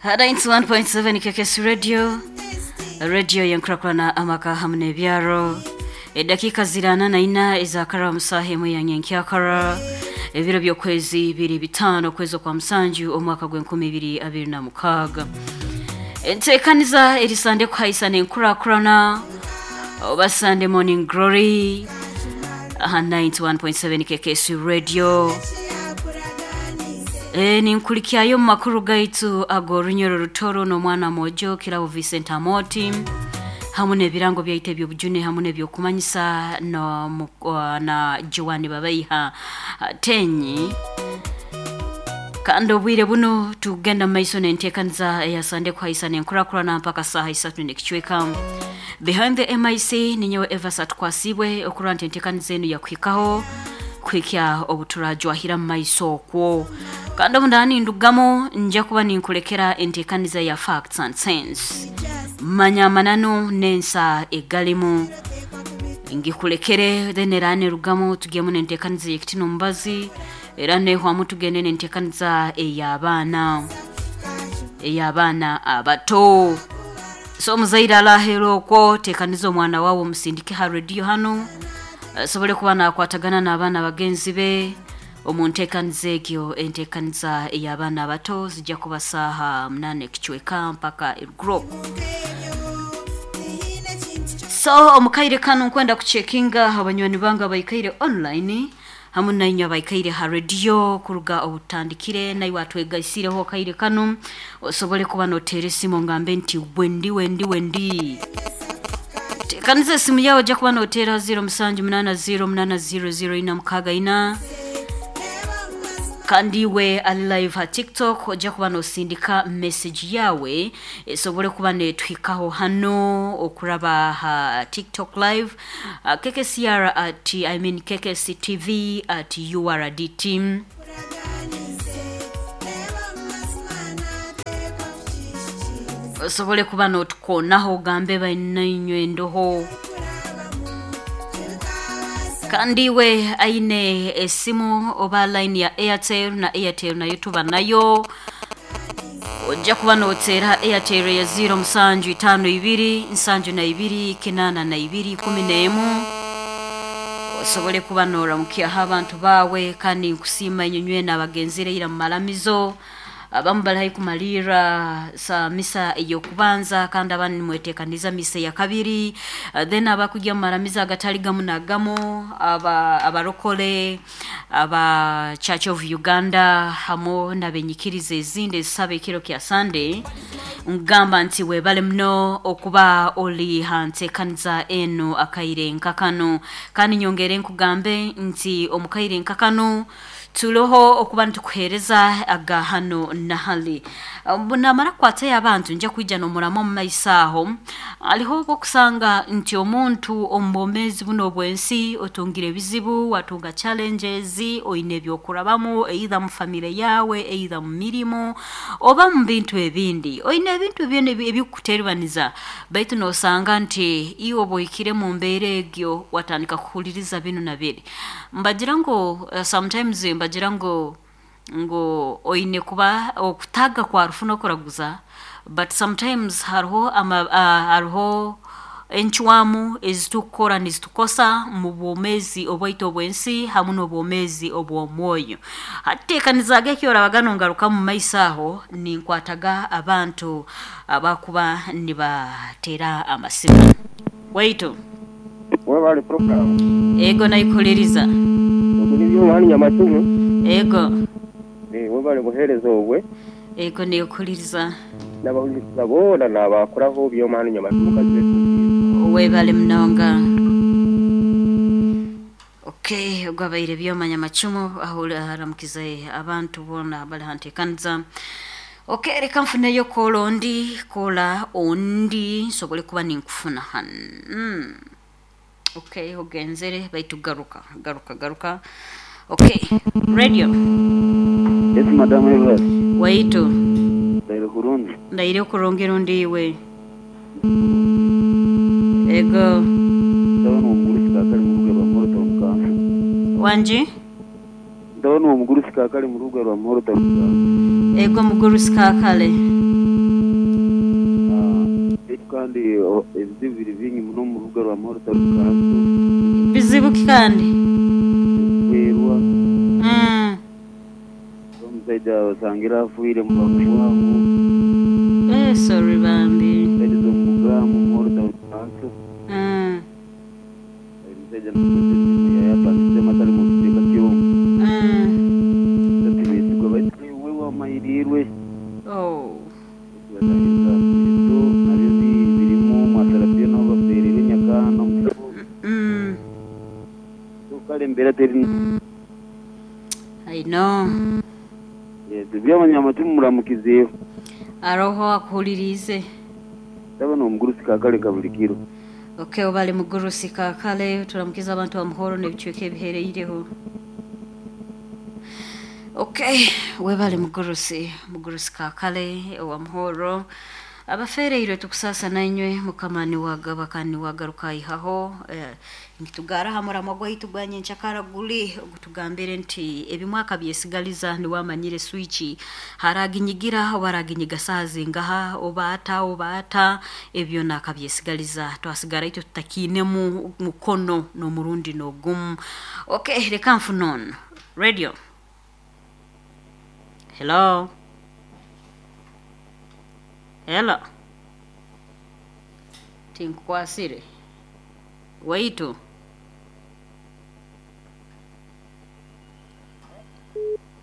91.7 KKS Radio, radio yenkurakurana amaka hamwe n'ebyaro. Edakiika zirana na ina ezakara omusaha emwe ya nyenkyakara, ebiro by'okwezi biri 5 okwezi okwa musanju omwaka gw'enkumi ibiri abiri na mukaaga. Enteekaniza eri Sande kuhaisana enkurakurana oba Sunday Morning Glory aha 91.7 KKS Radio. Ninkulikyayo omu makuru gaitu ag'orunyoro rutoro n'omwana mwojo Kirabo Vincent Amoti hamwe n'ebirango byaitu eby'obujune hamwe n'ebyokumanyisa no, na Joan Babaiha Tenyi. Kandi obwire buno tugenda mu maiso n'enteekaniza eya Sande kuhaisana enkurakurana mpaka saaha isatu n'ekicweka. Behind the MIC ninyowe Evas Atukwasibwe okurora nti enteekaniza enu yakuhikaho kuhikya obuturajwahira mu maiso okwo. Kandi obu ndaba nindugamu nja kuba ninkulekera enteekaniza ya Facts and Sense. Manya amananu n'ensa egalimu ngikulekere, then era nerugamu tugyemu n'enteekaniza ey'ekiti n'omubazi, era nehwamu tugende n'enteekaniza ey'abaana ey'abaana abato. So omuzaire alaheera okwo, teekaniza omwana waawe omusindike ha rediyo hanu asobole kuba nakwatagana n'abaana bagenzi be omu nteekaniza egyo. Enteekaniza ey'abaana abato zijja kuba saaha munaana ekicweka mpaka eruguru. So omu kaire kanu nkwenda kucekinga abanywani bange abaikaire online hamwe nainywe abaikaire ha rediyo kuruga obutandikire, naiwe atwegaisireho akaire kanu osobole kuba noteera esimu ngambe nti wendi wendi wendi. Teekaniza esimu yawe ojja kuba noteera 0780 800 464. Kandi iwe ali live ha TikTok ojja kuba nosindika message yawe esobole kuba netuhikaho hano okuraba ha TikTok live, KKCR at, I mean KKC TV at URDT. Osobole kuba notukonaho ogambe bainainywe ndoho. Kandi iwe aine esimu oba line ya Airtel, na Airtel nayo tuba nayo, ojja kuba noteera Airtel ya 0 musanju itaano ibiri nsanju na ibiri kinaana na ibiri kumi n'emu, osobole kuba noramukyaho abantu bawe. Kandi nkusiima inywe nywena abagenzire ira mu maramizo, abamu bali haihi kumalirra sa misa ey'okubanza, kandi abandi nimweteekaniza misa eya kabiri. Then abakujya mu maramizo agatali gamu na gamu, aba abarokole aba Church of Uganda hamwe n'abenyikiriza ezindi ezisaba ekiro kya Sunday, nkugamba nti webale muno okuba oli ha nteekaniza enu akaire nka kanu. Kandi nyongere nkugambe nti omu kaire nka kanu turoho okuba nitukuheereza aga hano na hali. Namara kukwatayo abantu nja kwija n'omuramu omu maiso aho. Hariho obwokusanga nti omuntu omu bwomeezi buno obw'ensi otungire ebizibu, watunga challenges, oine ebyokurabamu either mu family yawe, either mu mirimo oba mu bintu ebindi. Oine ebintu byona ebikukuteribaniza, baitu nosanga nti iwe oba ohikire mu mbeera egyo watandika kuhuliriza binu na biri. Mbagira ngu sometimes mbagira ngu oine kuba okutaaga kwa rufu n'okuraguza, but sometimes hariho ama hariho encwamu ezitukukora nizitukosa mu bwomeezi obwaitu obw'ensi hamwe n'obwomeezi obw'omwoyo. Hati teekanizaaga eki orabaga nongarukamu mu maiso aho, ninkwataga abantu abakuba nibateera amasimu. Waitu. Webale program. Ego naikuhuliriza. Ogu ni Byomani Nyamacumu. Ego. Webale buhereza obwe. Ego nekuhuliriza. Nabahuliriza boona nabakuraho Byomani Nyamacumu kazibe tuziize. Webale munonga. Okay, ogwo abaire Byoma Nyamacumu ahuramukize abantu boona abari ha nteekaniza. Okay, reka nfuneyo koola ondi, koola ondi nsobole kuba ninkufuna hanu. Okay, ogenzere baitu garuka, garuka, garuka. Okay, radio. Yes, Madam Evas. Waitu. Ndaire kurungi. Ndaire kurungi rundi iwe. Ego. Ndabona omugurusi kaakali mu rubuga rwa Muhoro Town Council. Wangi? Ndabona omugurusi kaakali mu rubuga rwa Muhoro Town Council. Ego mugurusi kaakale. Kandi ebizibu biri bingi muno omu rubuga rwa Muhoro Town Council. Bizibu ki kandi? Ebikufeerwa. Omusaija osangire afiire bwangu bwangu. Eh sorry bambi. Saidi z'omu Bugaamu Muhoro Town Council. Omusaija nakozesa esimu yayapangisemu atari mu kicweka ky'omu. Itwe tibesigwa baitu iwe wamanyiriirwe. Oh. Baitu batahiriza so nabyo birimu mwasarabyo naho bafeereirwe Nyakaana omusaho. So kare embeera teri nungi. I know. Yes, Byabanyamacumi muramukizeeho. Aroho akuhuririize. Ndaba n'omugurusi Kakale Kabulikiro. Ok obale mugurusi Kakale turamukize abantu ba Muhoro n'ebicweka ebihereireho. Ok webale mugurusi mugurusi Kakale owa Muhoro. Abafeereirwe tukusaasa nainywe Mukama niwe agaba kandi niwe agaruka aihaho. Eh, nitugaara aha muramwa gwaitu gwa nyenkyakara guri ogutugambire nti ebimwe akabyesigaliza niwe amanyire swiki haraginyigira oba araginyiga saaha zingaha oba ata oba ata ebyo nakabyesigaliza twasigara itwe tutakiinemu mukono n'omurundi n'ogumu. Ok reka nfune onu. Radio. Hello. Hello. Tinkukwasire. Waitu.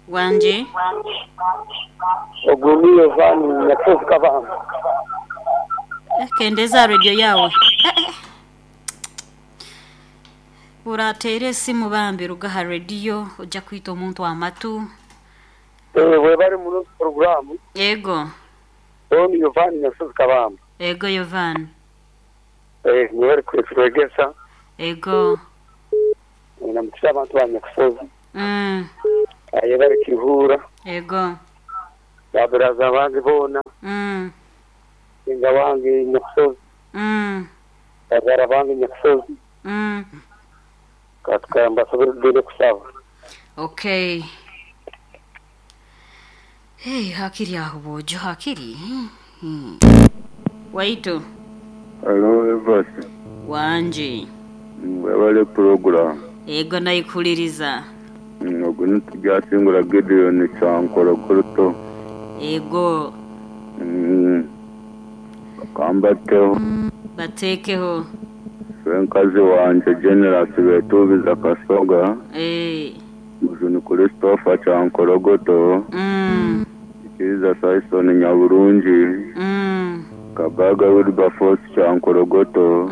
Wangi. Ogu ni Yovaani Nyakusozi Kabamba. Eh, Kendeza aha radio yaawe. Eh, eh. Orateera esimu bambi ruga aha radio ojja kwita omuntu amatu. Eh, webale muno puroguramu. Ego. Ogu ni Yovaani Nyakusozi Kabamba. Ego Yovaani. Eh, mwebale kutwegesa. Ego. Namukisa abantu ba Nyakusozi. Ayebale Kiruhura. Ego. Ba baraza bange boona. Senga wange Nyakusozi. Bazaara bange Nyakusozi. Ka mbasobere kugenda kusaba. Okay. Hey, hakiri aho bwojo hakiri. Waitu. Halo Evasi. Wangi. Webale puroguramu. Ego naikuliriza. Ogu nitugyasingura Gideon Kyankorokoto. Ego. Kambateho. Bateekeho. Swenkazi wangye Generous Betuubiza Kasoga. Eh. Mujuni Christopher Kyankorogoto. Ikiriza Saison Nyaburungi. Kabaga Wilberforce Kyankorogoto.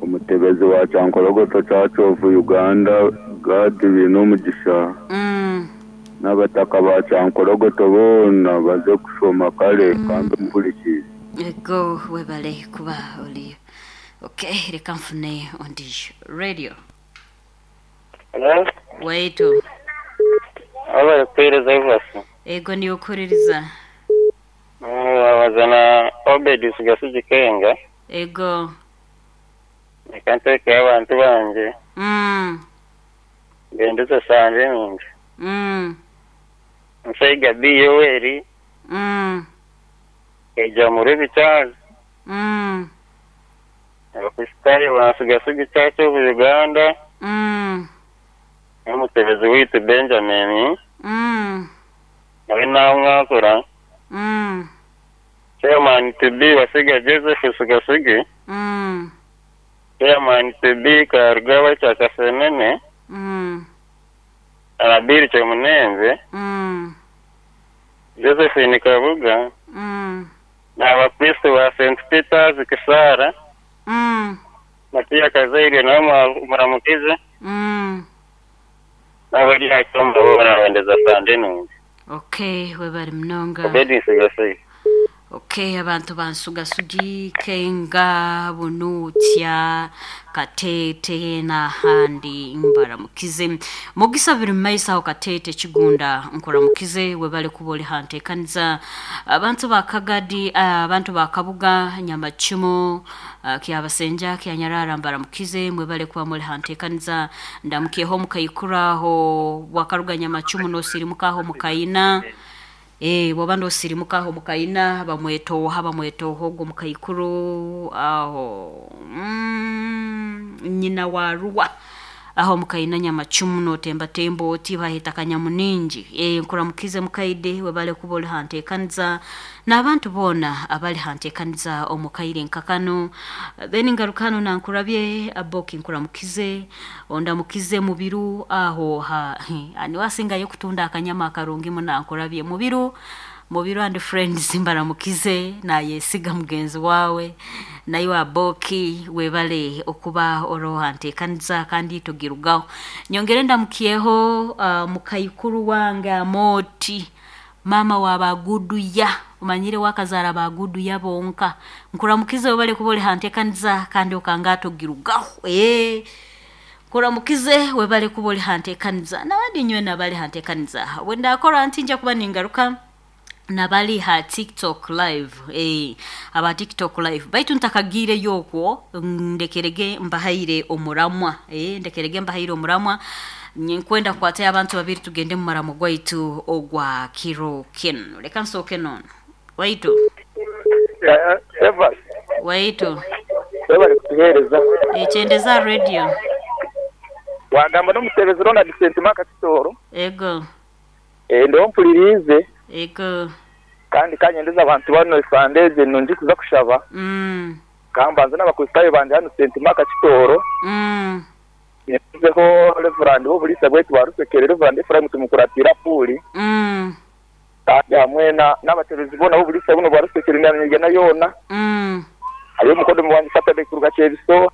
Omutebezi wa Kyankorogoto Church of Uganda Gad Binomugisha. N'abataka ba Kyankorogoto boona baze kushoma kare kandi omuhurikiize. Ego webale kuba oli. Okay, reka nfune ondiijo. Radio. Hello? Waitu. Webale kuheereza Evasi. Ego niiwe okuhuririza. Wabaza na Obedi Sigasigi Kenga. Ego. Reka nteekeho abantu bangye. Ngendeze sande nungi. Nsaiga B Yoweri. Kaija Murebi Charles. Abakristaayo ba Sigasigi Church of Uganda. N'omutebezi waitu Benjamin. Nawe naamwakura. Chairman to be Wasiga Joseph Sigasigi. Chairman to be Karugaba Kyakasenene. Abiri Kyomunenze. Josephine Kabuga. N'abakristo ba St. Peter's Kisara. Matia Kazaire nawe muramukize. N'abari aha boona bendeza sande nungi. Okay, webale munonga. Obedi Nsigasigi. Okay, abantu bansugasugi Kenga, Bunuutya, Kateete n'ahandi mbaramukize. Mugisa biri mu maiso aho Kateete Kigunda nkuramukize webale kuba ori ha nteekaniza. Abantu ba Kagadi, abantu ba Kabuga, Nyamacumu, Kyabasenja, Kyanyarara mbaramukize mwebale kuba muri ha nteekaniza. Ndamukyeho omu Kaikura aho wakaruga Nyamacumu noosirimuka aho omu Kaina. Bw'oba noosirimuka aho Mukaina bamweta oha bamweta oha ogwo mukaikuru aho nyina wa Ruwa aho Mukaina Nyamacumu nootembatemba oti baheeta Kanyamuningi. Nkuramukize mukaide webale kuba ori ha nteekaniza n'abantu boona abari ha nteekaniza omu kaire nka kanu. Then ngaruka hanu nankurabye Aboki nkuramukize ondamukize Mubiru aho ha niwe asingayo kutunda akanyama akarungi muno nankurabye Mubiru Mubiru and friends mbaramukize nayesiga mugenzi wawe naiwe Aboki webale okuba oroho ha nteekaniza kandi togirugaho. Nyongere ndamukyeho mukaikuru wange Amooti maama wa Baguduya omanyire we akazaara Baguduya bonka. Nkuramukize webale kuba ori ha nteekaniza kandi okanga togirugaho. Nkuramukize webale kuba ori ha nteekaniza n'abandi nywena abari ha nteekaniza. Bwendakora nti nja kuba ningaruka nabari ha TikTok live aba TikTok live baitu ntakagiireyo okwo ndekerege mbahaire omuramwa ndekerege mbahaire omuramwa ninkwenda kukwatayo abantu babiri tugende mu muramo gwaitu ogwa kiro kinu. Reka nsooke n'onu. Waitu. Eva. Waitu. Webale kutuheereza. Kyendeza aha radio. Wagamba n'omutebezi Ronald Sentima Kakitooro. Ego. Ndiho mpuririize. Ego. Kandi ka nyendeze abantu banu esande egi nungi kuza kushaba. Ka mbanze n'Abakristaayo bangye hanu Sentima Kakitooro. Nyendezeho Rev. W'oburiisa bwaitu bwa Rusekere, Rev. Ephraim Tumukuratiire Apuuli. Kandi hamwe n'abatebezi boona b'oburiisa bunu bwa Rusekere na Nyigana yoona. Hariyo omukodomi wangye Saturday kuruga Kyebiso.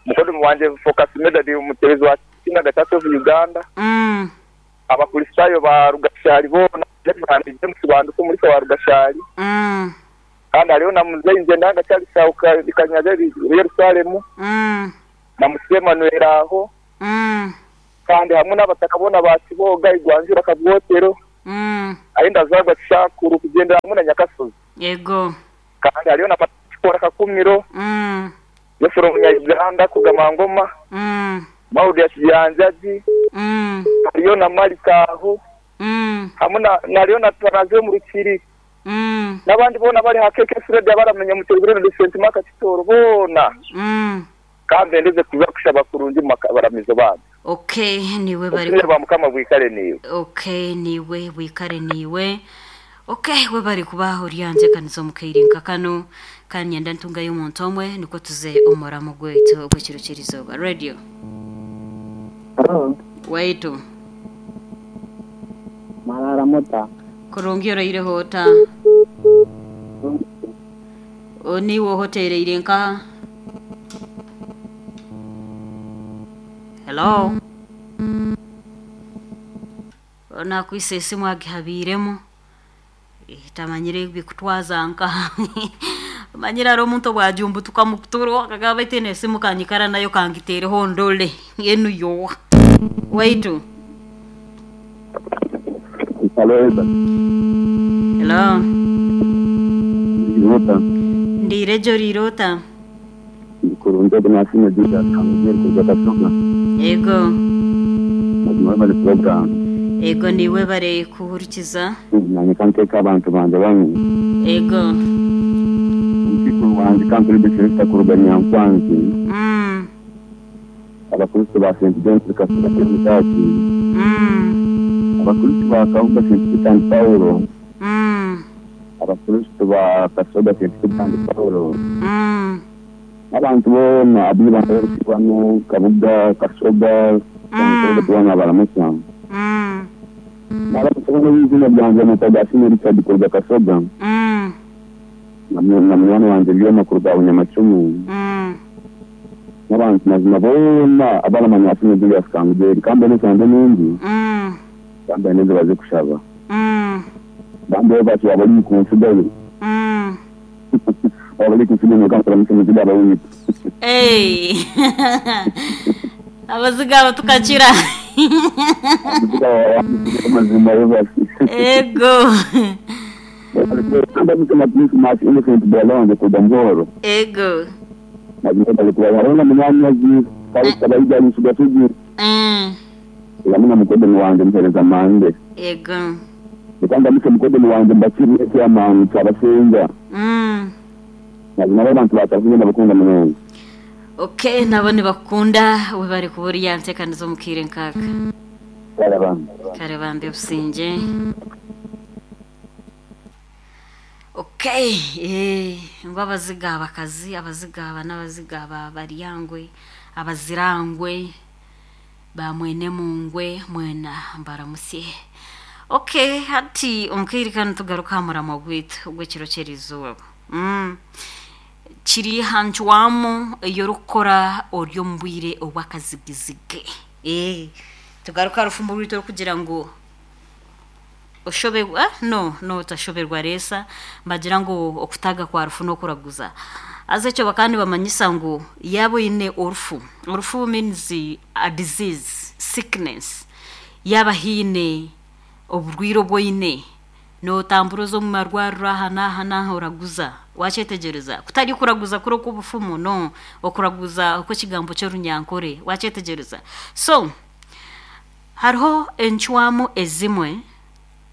Mukodomi wangye Focus Medard omutebezi wa Synagogue Church of Uganda. Abakristaayo ba Rugashari boona, Rev. James Banduka omuriisa wa Rugashari. Kandi hariyo na Muzei Ngyendanga Charles aho Kanyaga Yerusalemu. Na Musisi Emmanuel aho. Kandi hamwe n'abataka boona ba Kiboga, Igwanjura, Kabwotero, ahi ndazaarwa Kishankuru kugyendera hamwe na Nyakasozi. Yego. Kandi hariyo na Matikora Kakumiro, Jeffrey Omunya-Uganda kugama Ngoma, Maudi ya Kibyanjagi, hariyo na Malika aho, hamwe na hariyo na Tarazi omu Rukiri, n'abandi boona abari aha KK Radio abaramenya Mutebi Ronald Sentima Kakitooro boona. Ka mbendeze kuza kushaba kurungi omu mabaramizo bambi. Okay, niiwe bari Obusinge bwa Mukama bwikare naiwe. Okay, niiwe bwikare niiwe. Okay, webare kuba ori aha nteekaniza omu kaire nka kanu. Ka niinyenda ntungayo omuntu omwe nikwo tuze omu muramo gwaitu ogw'ekiro ky'erizooba. Radio. Haro. Waitu. Mwaraara muta? Kurungi oraireho ota? Niiwe oha oteereire nkaha? Hello? Onu akwaitse esimu agihabiiremu tamanyire ebikutwaza nkaha. Omanyire hariho omuntu obwajumbutuka omu kuturo akagamba baitu enu esimu kanyikara nayo kangiteereho ndore enu yoha. Waitu. Hello, Eva. Hello. Ndiire ota? Ndiire gye oriire ota? Ndi kurungi ogu nasiimwe Julius Kamugyeri kuruga Kasoga. Ego. Mazima webale puroguramu. Ego niiwe webare kuhurikiza. Nanye kanteeke abantu bangye bamwe. Ego. Omukaikuru wangye Kanturide Felista kuruga Nyankwanzi. Abakristo ba St. John's Kasoga Church Church. Abakristo ba Kabuga St. Peter and Paulo. Abakristo ba Kasoga St. Peter and Paulo. N'abantu boona abu Ibanda y'Orusibano, Kabuga, Kasoga, Kyankore boona baramutsya. Naabaasa kuba n'eiziina ryangye Mutagaasime Richard kuruga Kasoga na munywani wangye Byoma kuruga Bunyamacumu n'abantu mazima boona abaramanya Asiimwe Julius Kangugyeri. Ka mbone esande nungi kandi baine ezi baze kushaba. Bambi bati waaba ori kuntsigayo. Waaba ori kuntsigayo noka nkuramutse muziga aba wiitu. Abaziga abo tukakira. Abaziga aba mazima basi. Ego. Ndamutse na Christmas Innocent brother wange kuruga Muhoro. Ego. Mazima bari kuba hariho na munyanyazi Kalisa Baija Nsuga Sugi. Hamwe na mukodoni wange Muhereza Mande. Ego. Reka ndamukye mukodoni wangye Mbakiri chairman Kyabasinga. Mazima abo abantu ba Kyabasinga ndabakunda munonga. Ok nabo nibakukunda webare kuba ori aha nteekaniza omu kaire nk'aka. Kare bambi. Kare bambi obusingye. Ok eh, ngu abaziga abakazi abaziga aba n'abaziga aba baryangwe abazirangwe ba mwene mungwe mwena mbaramutsye. Ok hati omu kaire kanu tugaruke aha muramwa gwaitu ogw'ekiro ky'erizooba. Mm. Kiri aha ncwamu ei orikukora ori omu bwire obw'akazigizigi. Eh, tugaruke aha rufumbo rwaitu orikugira ngu oshoberwa ah, no no otashoberwa reesa nibagira ngu okutaaga kwa rufu n'okuraguza. Haza ekyo bakaba nibamanyisa ngu yaaba oine orufu, orufu means a disease, sickness, yaaba haine oburwaire obu oine, nootambura oza omu marwariro aha n'aha n'aha oraguza. Waakyetegyereza? Kutari kuraguza kuri okw'obufumu, no, okuraguza okw'ekigambo ky'orunyankore. Waakyetegyereza? So, hariho encwamu ezimwe,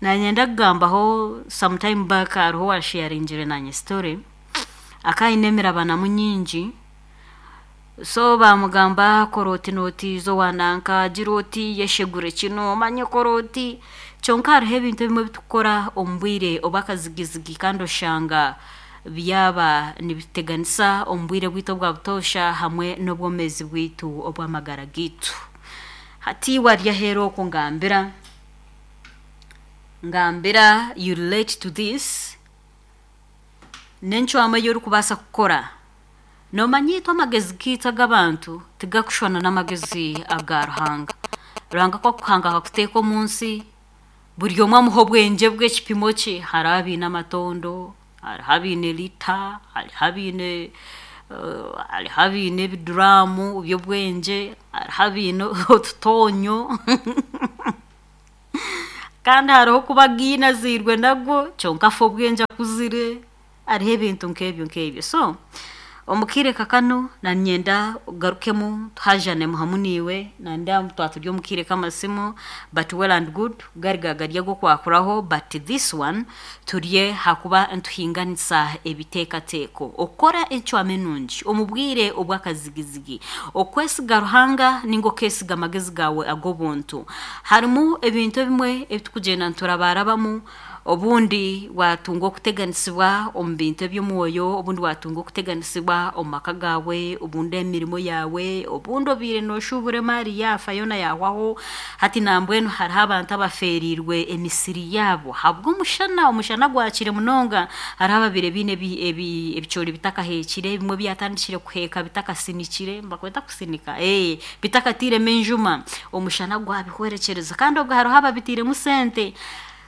naanye kugambaho some time back hariho owaasheyaringire naanye story, akaba aine emirabanamu nyingi, So baamugamba kora oti n'oti iza owa nanka gira oti yeshegure kinu omanye kora oti kyonka hariho ebintu ebimwe ebi turikukora omu bwire obw'akazigizigi kandi oshanga byaba nibituteganisa omu bwire bwaitu obwa butoosha hamwe n'obwomeezi bwaitu obw'amagara gaitu. Hati iwe ari aheeru okwo ngambira, ngambira you relate to this, n'encwamu ei orikubaasa kukora. Noomanya itwe amagezi gaitu ag'abantu tigakushushana n'amagezi aga Ruhanga. Ruhanga ku akukuhanga akakuteeka omu nsi, buri omwe amuha obwengye bwe ekipimo kye. Hariho abaine amatondo, hariho abaine lita, hariho abaine hariho abaine ebiduraamu by'obwengye, hariho abaine otutoonyo kandi hariho okuba againe azairwe nagwo kyonka afa obwengye akuzire. Hariho ebintu nk'ebyo nk'ebyo. So, omu kaire nka kanu nanyenda ogarukemu tuhajanemu hamu naiwe, nanda twaba turi omu kaire k'amasimu but well and good gari gaba gari ag'okwakuraho but this one turi ahakuba nituhinganisa ebiteekateeko. Okukora encwamu enungi omu bwire obw'akazigizigi, okwesiga Ruhanga ninga okeesiga amagezi gaawe ag'obuntu. Harimu ebintu ebimwe ebi turikugyenda niturabarabamu Obundi waatunga okuteganisibwa omu bintu eby'omwoyo, obundi waatunga okuteganisibwa omu maka gaawe, obundi emirimo yaawe, obundi obaire nooshuubura emaari yaafa yoona yaahwaho. Hati nambwenu hariho abantu abafeereirwe emisiri yaabo ahabw'omushana, omushana gwakire munonga. Hariho ababaire baine ebicoori bitakaheekire, ebimwe byatandikire kuheeka bitakasinikire, nibakweta kusinika? Bitakatairemu enjuma, omushana gwabihwerekyereza. Kandi obwo hariho ababitairemu sente.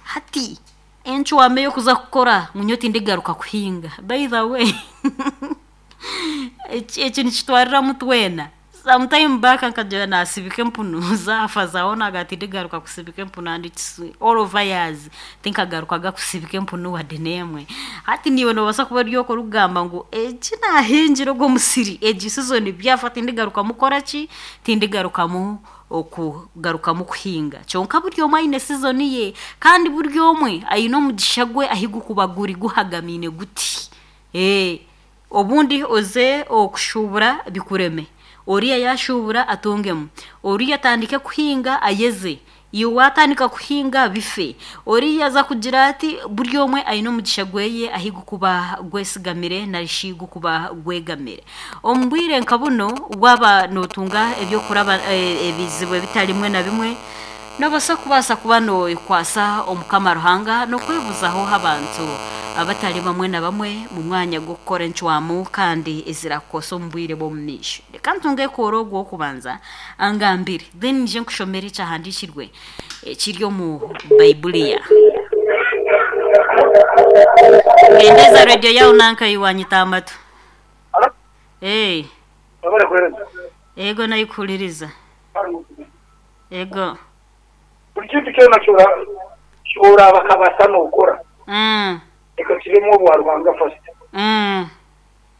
Hati encwamu ey'okuza kukora ngu nyowe tindigaruka kuhinga by the way eki nikitwariramu twena. Some time back nkagira naasibika empunu zaafa zaaho naagira tindigaruka kusibika empunu and it's all over years tinkagarukaga kusibika empunu wadde n'emwe. Hati naiwe noobaasa kuba ori okwo orikugamba ngu eki naahingire ogu omusiri egi season byafa tindigarukamu kukora ki, tindigarukamu okugarukamu kuhinga. Kyonka buri omwe aine sizoni ye, kandi buri omwe aine omugisha gwe ahi gukuba guri guhagamaine guti. Ee, obundi oze okushuubura bikureme, oriya yaashuubura atungemu, oriya atandike kuhinga ayeze, iwe waatandika kuhinga bife, oriya aza kugira ati, buri omwe aine omugisha gweye ahi gukuba gwesigamire nari shi gukuba gwegamire. Omu bwire nka buno, waaba nootunga eby'okuraba ebizibu ebitari bimwe na bimwe, noobaasa kubaasa kuba nookwasa Omukama Ruhanga n'okwebuzaho abantu abatari bamwe na bamwe mu mwanya gw'okukora encwamu kandi ezirakukwasa omu bwire bw'omumaisho. Reka ntunge ekoora ogu ow'okubanza angambire, then nyije nkushomere ekyahandiikirwe ekiri omu Baibuli ya. Kendeeza radiyo yaawe nanka iwe wanyita amatu. Hey. Ego naikuhuririza. Ego. Buri kintu kyona kyoraba kabasa nokora reka kibemu obwa Ruhanga first.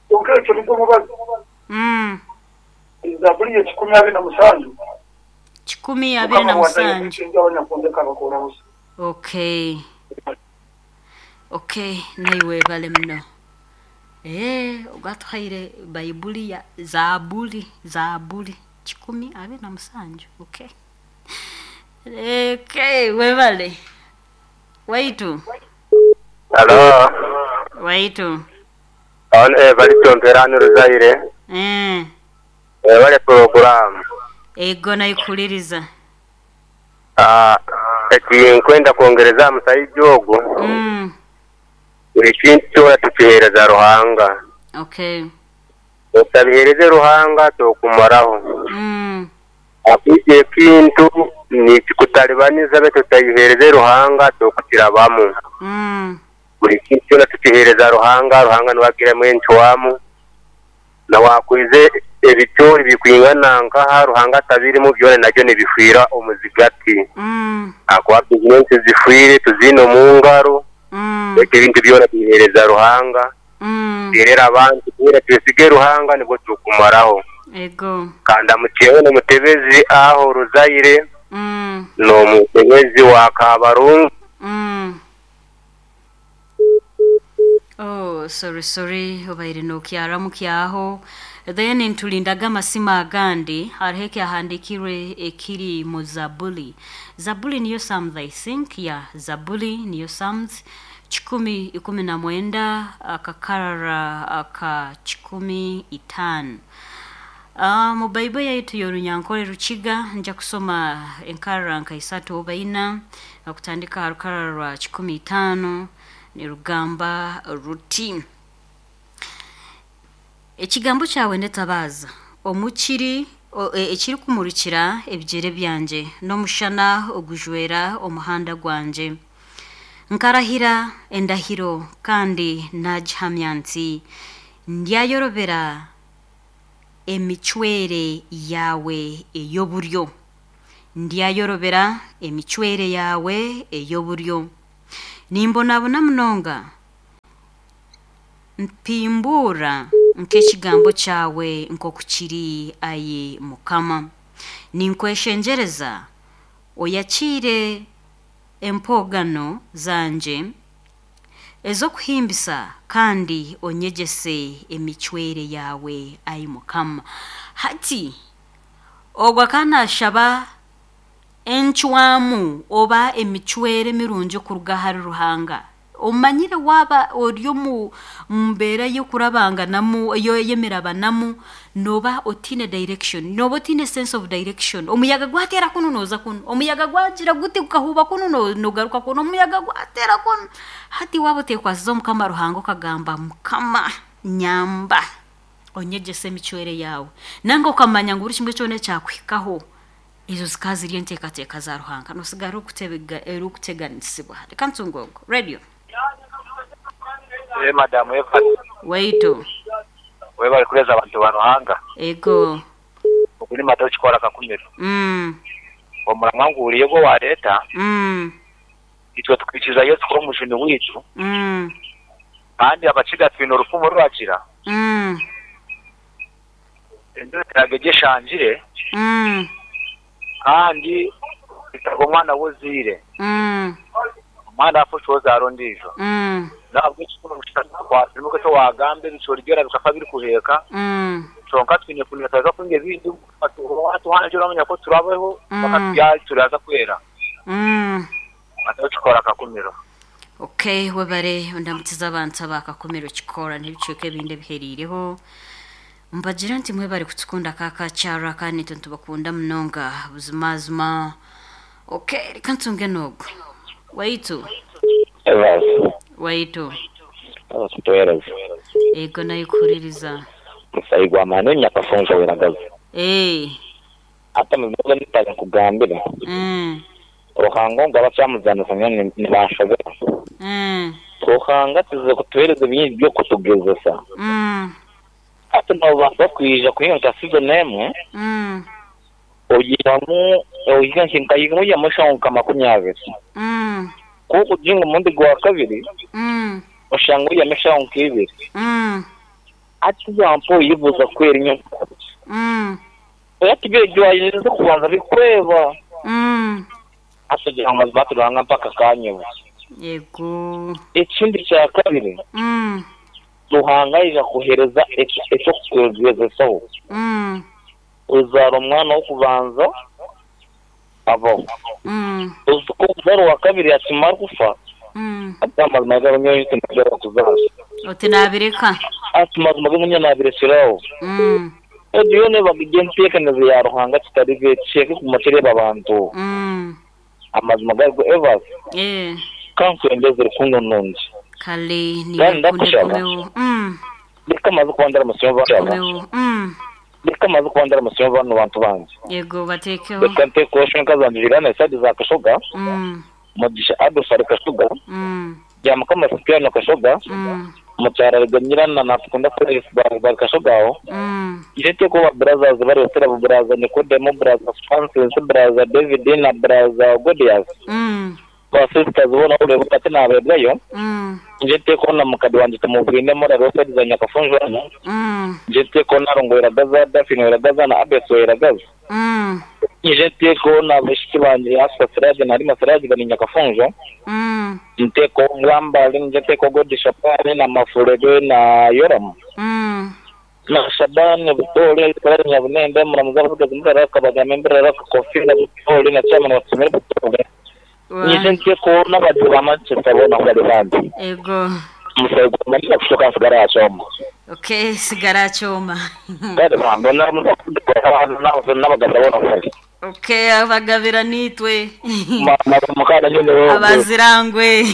Kwonka ekyo nigwo mubazi. Zaaburi y'ekikumi abiri na mushanju. 127. Mukama wandaye okwikiriza abanyakunde akabakora busa. Okay. Okay, naiwe webale muno. Ee, ogwatuhaire Baibuli ya Zaaburi, Zaaburi 27. Okay. Okay, webale. Waitu. Halo. Waitu. On Evaristo Mperani Ruzaire. Webale program. Ego naikuliriza. Eki nkwenda kwongereza musaija ogu. Buri kintu kyona tukiheereza Ruhanga. Okay. Otabiheereze Ruhanga tokumaraho. Akwija ekintu nikikutalibaniza beitu otabiheereze Ruhanga tokukirabamu. Buri kintu kyona tukiheereza Ruhanga, Ruhanga niwe agiramu encwamu. Na wakwize ebicoori bikwingana nkaha Ruhanga atabirimu byona nabyo nibifiira omu zigati. Ahakuba bizinesi zifiire tuziine omu ngaro. Beitu ebintu byona tubiheereza Ruhanga. Tuheerere abantu twena twesige Ruhanga nibwo tukumaraho. Ego. Kandi amukyeho n'omutebezi aho Ruzaire n'omutebezi wa Kabarungu. Oh, sorry, sorry, obaire nokyaramu kyaho. Then ntulindaga amasima agandi, hariho ekyahandikirwe ekiri mu Zabuli. Zabuli niyo Psalms, I think. Yeah, Zabuli niyo Psalms. 119 akakarara aka 15. Mu Bible yaitu y'Orunyankore Rukiga nja kusoma enkarara nka isatu oba ina, okutandika aha rukarara rwa 15 nirugamba ruti: Ekigambo kyawe netabaza omukiri ekirikumurikira ebigyere byangye n'omushana ogujwera omuhanda gwangye. Nkarahira endahiro kandi nagihamya nti ndyayorobera emicwere yawe ey'oburyo. Ndyayorobera emicwere yawe ey'oburyo. Nimbonabona munonga mpimbuura nk'ekigambo kyawe nk'oku kiri ayi Mukama. Ninkweshengyereza oyakiire empogano zangye ez'okuhimbisa kandi onyegyese emicwere yawe ayi Mukama. Hati ogwo akanashaba encwamu oba emicwere mirungi kuruga ahari Ruhanga. Omanyire waaba ori omu mbeera y'okurabanganamu y'emirabanamu noba otiine direction, noba otiine sense of direction. Omuyaga gwateera kunu nooza kunu, omuyaga gwagira guti gukahuuba kunu nogaruka kunu, omuyaga gwateera kunu. Hati waaba oteekwasize Omukama Ruhanga okagamba Mukama nyamba onyegyese emicwere yaawe. Nanga okamanya ngu buri kimwe kyona ekyakuhikaho ezo zikaba ziri enteekateeka za Ruhanga nosigara orikuteganisibwa. Reka ntunge ogwo. Radio. Madamu Evans. Waitu. Webale kureeza abantu ba Ruhanga. Ego. Ogu ni Mata okikora Kakumiro. Omuramwa nguhuriire ogu owareeta. Itwe tukwikiriza Yesu kuba omujuni waitu. Kandi abakiga twine orufumu ruragira. Enjura teraga egyo eshangire. Kandi etaga omwana w'ozaire. Omwana afa ocwa ozaara ondiijo. Nahabwekyo twasiima eki wagamba ebicoori byona bikafa birikuheeka. Kyonka twine kumanya turaza kuhinga ebindi watuhangire oramanya ku turabeho paka turaza kwera. Ate okikora Kakumiro. Okay, webare ondamutiza abantu aba Kakumiro kikora n'ebicweka ebindi ebiheriireho. Mbagira nti mwebare kutukunda kakakyara kandi nitwe nitubakunda munonga buzimazima. Okay, reka ntunge n'ogwo. Waitu. Evans. Waitu. Tuweereza. Ego naikuhuririza. Musayi gwa maani nyakafunza weragaza. Ate mubyo nitari nkugambira. Ruhanga ngu abakyamuzanisa nyowe nibanshobera. Ruhanga tuze kutuheereza bingi by'okutugezesa. Ate nobaasa kwija kuhinga nka season emwe. Oyihamu oyiha nkayihamu oyihamu nka 20. Kuko kuginga omurundi gwa kabiri. Oshanga oyihamu eshaho nka 2. Ati wampa oyibuuza kwera enyo. Oya tibyo kubanza bikweba. Ate gira ngu batu Ruhanga mpaka kanyeba. Yego. Ekindi kya kabiri, Ruhanga aija kukuheereza eky'okukugyezesaho. Ozaara omwana w'okubanza, abaho. Ku okuzaara owa kabiri akimara kufa, ati amazima gari nyowe tindikugaruka kuzaara. Oti naabireka. Ati mazima ge nyowe naabirekyera aho. Egyo yoona eba eri enteekaniza ya Ruhanga kitari ekicweka ekiguma kireeba abantu. Amazima gari go Evans, ka nkwendeze rukundo nungi. Kale Kandi niiwe ndakushaba, kundekomeho. reka maze kuba ndaramutsya Reka maze kuba ndaramutsya banu bantu bangye. Yego bateekeho. Reka nteekeho shwenka zangye Juliana Esadi za Kashoga, Mugisha Adolf ari Kashoga, Byamukama Sipiriyano Kashoga, Mukyara Ruganyira na Natukunda Florence bari Kashoga aho. Nje nteekeho ba brothers bari Otera, Buraza Nikodemu, Buraza Francis, Buraza David na Buraza Godias. Ba sisters boona ahu bari hati naabeebwayo. Nje nteekeho na mukadi wangye Tumubwine Morale wa saidi za Nyakafunjo hanu. Nje nteekeho na Rongo Iragaza, Daphine Iragaza na Abes wa Iragaza. Nje nteekeho na baishiki bangye Hafsa Siraje na Halima Siraje bari Nyakafunjo. Nteekeho Bwambale, nje nteekeho Godi Shabani na Mafurebe na Yoramu. Na Shabani Butoore, Israel Nyabunende, Muramuzi Abatsigazi Mburara, Kabagame Mburara, Kakofira Butoore na Chairman wa Tumire Butoore. Nyije nteekeho n'abagizi ba Manchester boona ahu bari bambi. Ego. Omusaayi gwa Manchester kushoka nsigara aha kyoma. Okay, sigara aha kyoma. Kare bambi n'abagabira boona ahu bari. Okay, abagabira niitwe. Mukana nyine wewe. Abazirangwe.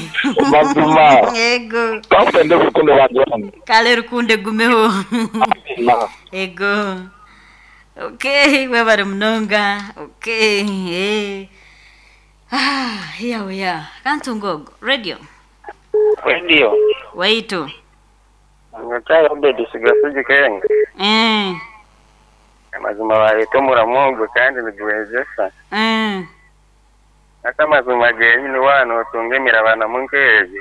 Mazima. Ego. Kampende rukundo bantu bange. Kale rukundo egumeho. Ego. Okay, webare munonga. Okay. Eh. Ah, here we are. Kantunga ogu. Radio. Radio. Waitu. Nyokyaro Obedi Sigasigi Kenga. Eh. Amazima bareeta omuramo ogwo kandi nigwegyesa. Eh. Hati amazima genyini waaba nootunga emirabanamu nk'egi.